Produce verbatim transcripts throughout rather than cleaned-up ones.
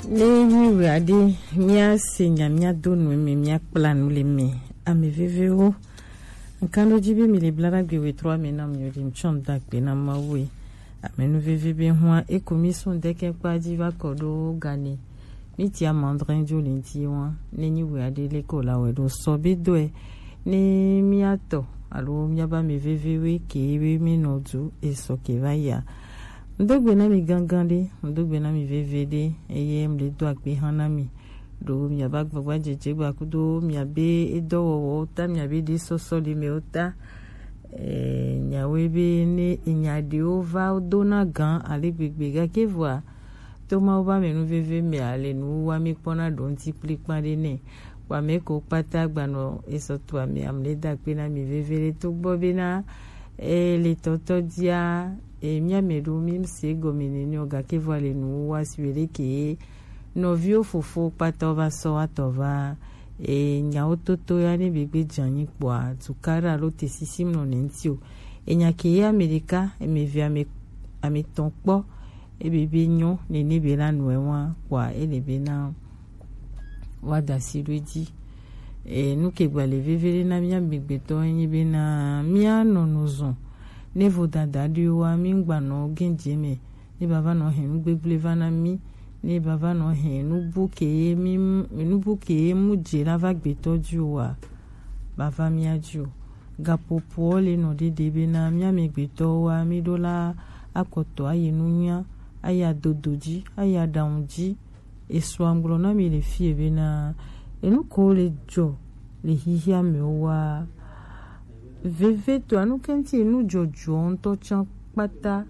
Ne nyi wɛ aɖe, míase nya, míado nu eme, míakpla nu le eme. Ame vevewo, ŋkanɖodzi be mi le bla ɖagbe wetro ame na mi o ɖi ŋtsɔ ŋda gbe na Mawu e. Ame nu veve be hua eko mi sun deke kpa dzi va kɔ ɖo gane. Mi ti amandrin jo le ŋti wa. Ne nyi wɛ aɖe le ko la wɛ ɖo sɔ be dɔe. Ne míatɔ alo míaba ame vevewo ke be mi nɔ du esɔ ke va ya. Ŋdo gbe na mi gangan ɖe, ŋdo gbe na mi veve ɖe, eye mle do akpe hã na mi. Ɖo miaba gbagba dzedze gba kudo miabe edɔwɔwɔwo ta, miabe ɖe sɔsɔ le mewo ta. Eh, nyawo be ne enya ɖewo va dona gan ale gbegbe gake vɔa, to Mawu ba me nu veve me ale nu wa mi kpɔna ɖo ŋti kplikpa ɖe nɛ. Wa me ko kpata gbanɔ esɔ to ame amle da akpe na mi veve ɖe to gbɔ be na e le tɔtɔ dia e mia me ɖo mi se gɔme nene o gake vɔa le nu wa si we ɖe ke nɔviwo fofo kpata va sɔ wa tɔ va e nyawo toto ya ne be gbe dze anyi kpɔa tukaɖa alo te sisi mlɔ ne ŋti o. Enya ke ye ame ɖeka, eme ve ame ame tɔn kpɔ, ebe be nyɔ nene be la nɔe wa kpɔa ele be na wa da si ɖo edzi. E nu ke gba le veve ɖe na mía gbegbetɔ enyi be na mía nɔ nu zɔn ne vodada ɖewo wa mi ŋgba nɔ gɛnjɛ me ne bava nɔ hɛn nu gbegble va na mi, ne bava nɔ hɛn nubu ke ye mi nubu ke ye mu dze la va gbetɔ dzi o wa bava mía dzi o. Gapopoɔ le nɔ ɖeɖe be na mía me gbetɔwo wa mi ɖo la akɔtɔ ayi nunya, ayi adodo dzi, ayi aɖaŋu dzi. Esɔa ŋgblɔ na mi le fie be na enu ko le dzɔ le xixia me wa veve to anu kɛnti enu dzɔdzɔ ŋutɔ tsan kpata.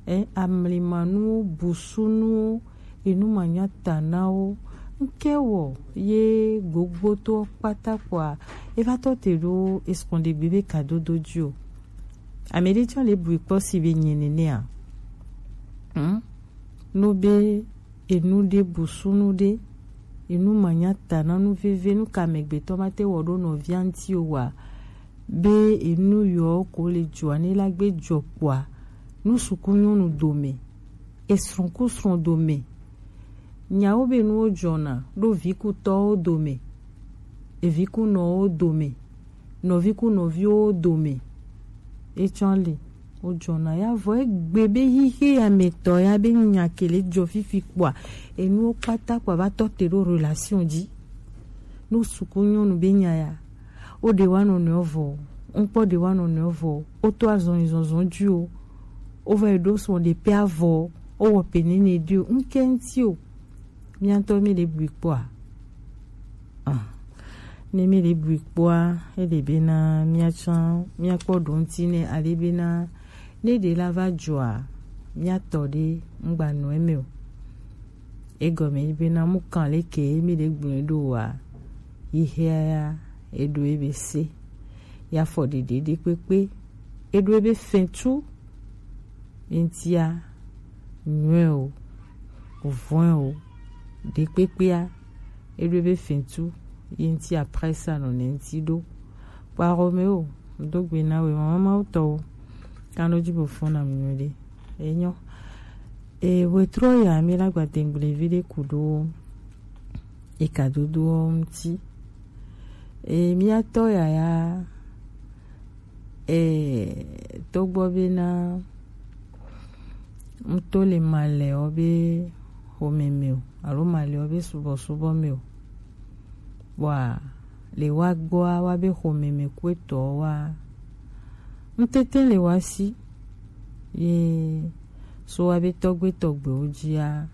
E amlimanuwo, busunuwo, enu manya ta na wo. Ŋke wɔ ye gbogboto kpata kpɔa eva tɔ te ɖo esɔn ɖe gbe be kadodo dzi o. Ame ɖe tsɔ le bui kpɔ si be nye nenea. Hmm? No be enu ɖe busunu ɖe, enu manya ta na nu veve, nu ka amegbetɔ ma te wɔ ɖo nɔvia ŋti o wa, be enu yɔ ko le dzɔa ne la gbe dzɔ kpɔa, nu suku nyɔnu dome, esrɔ̃ ku srɔ̃ dome, nyawo be nuwo dzɔna ɖo vi ku tɔwo dome, evi ku nɔwo dome, nɔvi ku nɔviwo dome. Etsɔ li wodzɔna ya vɔ egbe be xixe ya me tɔ ya be nya ke le dzɔ fifi kpɔa, enuwo kpata kpɔa va tɔ te ɖo relation dzi. Nu suku nyɔnu be nya ya, wo ɖe wa nɔnɔewo vɔ, ŋkpɔ ɖe wa nɔnɔewo vɔ, wo to azɔn zɔnzɔn dzi o, wo va yi ɖo sɔ ɖe pe avɔ, wo wɔ pe nene ɖi o, ŋke ŋti o. Míatɔ mi le bui kpɔa? Ah. Ne mi le bui kpɔa, ele be na míatsã míakpɔ ɖo ŋti ne ale be na ne ɖe la va dzɔa, míatɔ ɖe ŋgba nɔ eme o. Egɔme yi be na mu kan le ke mi le gblɔe ɖo wa, yi hea ya eɖo ebe se, ya fɔ ɖeɖe ɖe kpekpe, eɖo ebe fɛtu, eŋtia nyɔe o, vɔe o, ɖekpekpea, eɖo be fɛtu ye ŋti après ça nɔ ne ŋti ɖo. Kpaxɔ me o, do gbe na we mama mawu tɔwo. Kano dzi bo fɔna mi nyuie ɖe. Enyo. E wetrɔ ya mi la gba dengble vi ɖe ku ɖo eka dodo ŋti. E miatɔ yaya e togbɔ be na ŋto le malɛwo be xɔme me o alo malɛwo be subɔsubɔ me o. Bɔa le wa gbɔa wa be xɔme me kuetɔ wa ŋtete le wa si ye so wa be tɔgbe tɔgbewo dzia.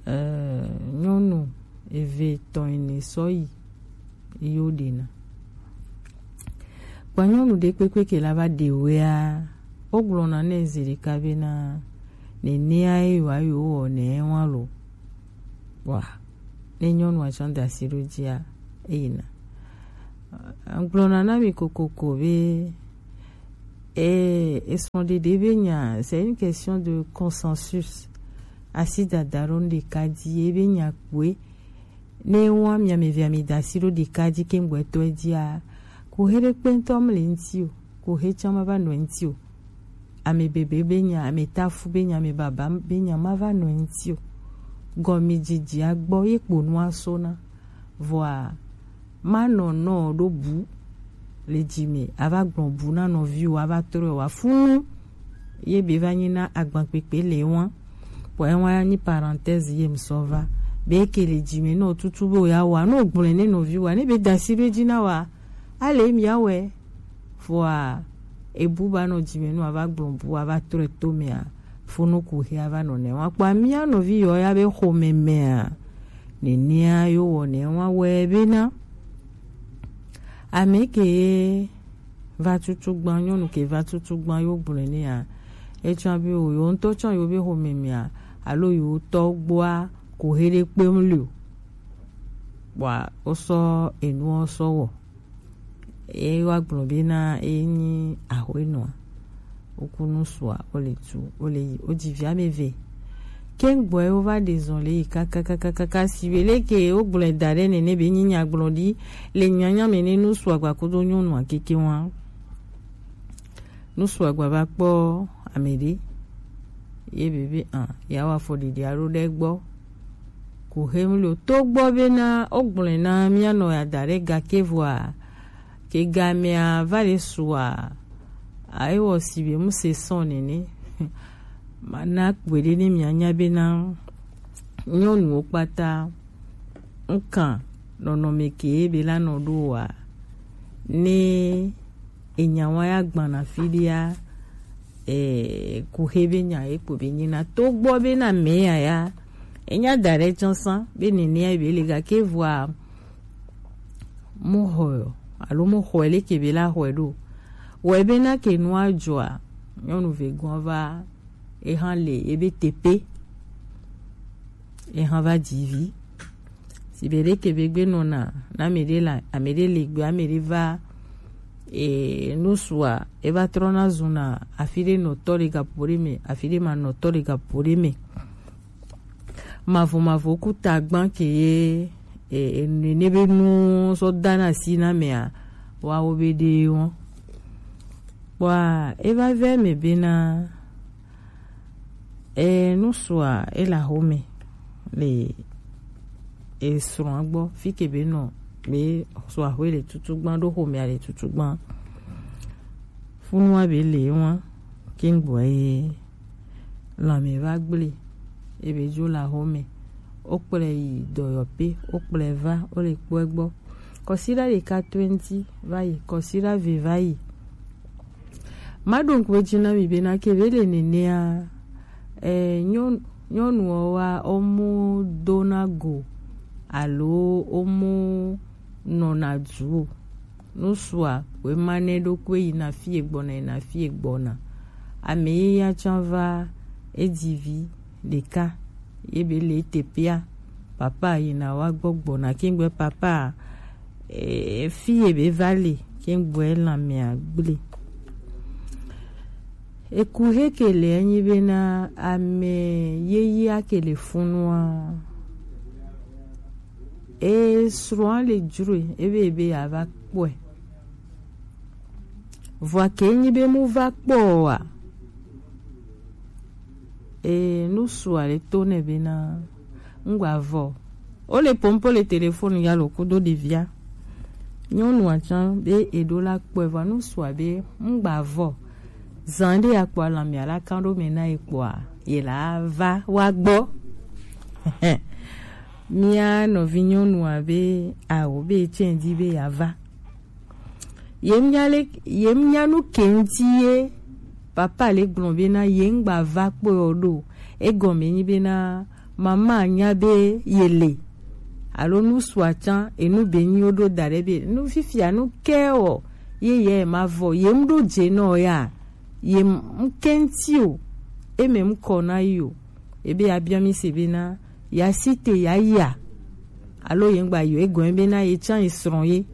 Eh, nyɔnu eve tɔn ene sɔ yi yo ɖena. Kpa nyɔnu ɖe kpekpe ke la va ɖe wea, wo gblɔna nɛ zi ɖeka be na nenea ye wa yo wɔ ne wa lo. Wa ne nyɔnu atsɔ da si ɖo dzia, eyina. Gblɔna na mi kokoko be e esrɔ̃ɖeɖe be nya, c'est une question de consensus. Asi dada ɖo nu ɖeka dzi ebe nya kpoe. Ne wa mia me via mi da asi ɖo ɖeka dzi ke ŋgbɔtɔ dzia, ko he ɖe kpɛntɔ mle ŋti o, ko he tsã ma va nɔ ŋti o. Ame bebe be nya, ame tafu be nya, ame baba be nya ma va nɔ ŋti o. gɔmijiji agbɔ ye kponu aso na. Vɔa, ma nɔ nɔ ɖo bu le dzi me, ava gblɔ bu na nɔviwo, ava trɔe wa funu, ye be va nyi na agbankpekpe le wa. Vɔ ewa nyi parenthèse ye ŋsɔ va. Be ke le dzi me nɔ tutu be o ya wa, nɔ gblɔe ne nɔviwo, ne be dasi ɖo dzi na wa, ale mi awɛ. Vɔa, ebu ba nɔ dzi me nɔ ava gblɔ bu, ava trɔe to mea, funu ku he ava nɔ ne wa. Kpɔ mia nɔvi yɔ ya be xomɛ mea, nenea yo wɔ ne wa wɛ be na. Ame ke va tutu gban, nyɔnu ke va tutu gban yo gblɔe ne ya. Etsɔ be o yo ŋutɔ tsɔ yo be xomɛ mea, alo yo tɔ gbɔa ko he ɖe kpem le o. Kpɔa, wosɔ enu wɔ sɔ wɔ. Ye wa gblɔ be na ye nyi ahoenɔa. Woku nu sua, wole tu, wole yi, wodzi vi ame eve. Ke gbɔe wova ɖe zɔn le yi kakakakaka si be leke wogblɔe da ɖe nene be nyi nyagblɔ ɖi le nyanya me ne nu sua gba kodo nyɔnua keke wa. Nu sua gba va kpɔ ame ɖe. Ye be be, ah, ya wa fɔ ɖiɖi alo ɖe gbɔ. Ku hem lo to gbɔ be na wogblɔe na mia nɔ ya da ɖe gake vɔa, ke gamea va le sua, a ewɔ si be mu se sɔn nene. Ma na kpɔe ɖe ne mia nya be na nyɔnuwo kpata ŋkan nɔnɔme ke be la nɔ ɖo wa. Ne enya wa ya gbana fi ɖea, eh, ku he be nya ye kpo be nyina to gbɔ be na me ya ya. Enya da ɖe tsɔ san be nene ya be le gake vɔa mu xɔ alo mu xɔ leke be la xɔ ɖo. Wɔ be na ke nua dzɔa, nyɔnu ve gɔn va eha le ebe tepe. Eha va dzi vi. Si be ɖeke be gbe nɔna, na ame ɖe la, ame ɖe le gbe, ame ɖe va, e, nusua, e va trɔna zuna, afi ɖe nɔtɔ le gapo ɖe me, afi ɖe ma nɔtɔ le gapo ɖe me. Mavɔ mavɔ ku tagban ke ye, e, e, nene be nu sɔ dana si na mea, wa wo be ɖe wɔn. Kpɔa, e va vɛ me be na, e, nusua, e la xome le, e, srɔ̃a gbɔ, fi ke be nɔ, be srɔ̃a xwe le tutu gban, ɖo xomea le tutu gban. Funua be le wɔn, ke ŋgbɔ ye, lãme va gble, e be dzo la xome, wo kplɔe yi dɔyɔƒe, wo kplɔe va, wo le kpɔe gbɔ. Kɔsiɖa ɖeka twenty va yi, kɔsiɖa ve va yi. Maɖo ŋku edzi na mi be na ke be le nenea, eh, nyɔn-, nyɔnuwo wa, wo mu dona go alo wo mu nɔna du o. Nusua, wema nɛ ɖokui yina fie gbɔna, yina fie gbɔna. Ame ye ya tsã va edzi vi ɖeka, ye be le teƒea. Papa yina wa gbɔ gbɔna, ke ŋgbe papa, e, fi ye be va le, ke ŋgbe lãmea gble. Eku he ke le enyi be na ame yeyea ke le funua. E srɔ̃a le dzroe, ebe ebe yeava kpɔe. Vɔa ke nyi be mu va kpɔ oa, e, nusua le to nɛ be na ŋgba vɔ. Wo le pompo le telefoni ya lo kudo ɖevia. Nyɔnua tsã be eɖo la kpɔe vɔa nusua be ŋgba vɔ. Zan ɖe ya kpɔ alamia la kan ɖo me na ye kpɔa, ye la va wa gbɔ. Mía nɔvi nyɔnua be awo be etsɛ di be ya va. Ye nya le, ye nya nu ke ŋuti ye papa le gblɔ be na ye ŋgba va kpɔe o ɖo. Egɔme nyi be na mama nya be ye le. Alo nusua tsã, enu be nyi wo ɖo da ɖe be nu fifia nu ke o, ye ye ma vɔ, ye ŋɖo dze nɔ ya, ye ŋke ŋti o, eme ŋkɔ na yi o. Ebe ya bia mi se be na ya si te ya yia. Alo ye ŋgba yi o, egɔme be na ye tsã ye srɔ̃ ye.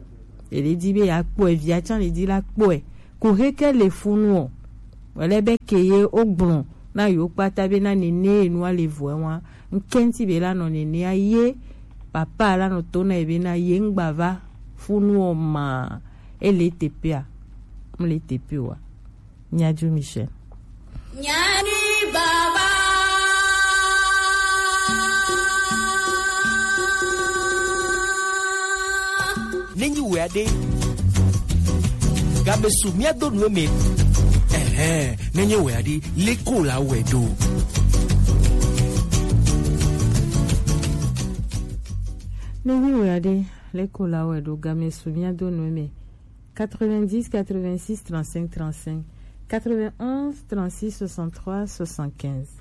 Ele di be ya kpɔe, via tsã le di la kpɔe. Ko he ke le funu o. Wele be ke ye o gblɔ na yo kpata be na nene enua le vɔe wa. Ŋke ŋti be la nɔ nenea ye papa la nɔ to na ye be na ye ŋgba va funu o ma. Ele teƒea. Mle teƒe wa. Nyaju Michel. Nyani baba. Ade. Gabe su mía do nu eme. Ɛhɛn, nenye wɛ adi, leko la wɛ do. Nenye wɛ adi, leko la wɛ do, game su mía do nu eme. Quatre-vingt-dix, quatre-vingt-six, trente-cinq, trente-cinq, quatre-vingt-onze, trente-six, soixante-trois, soixante-quinze.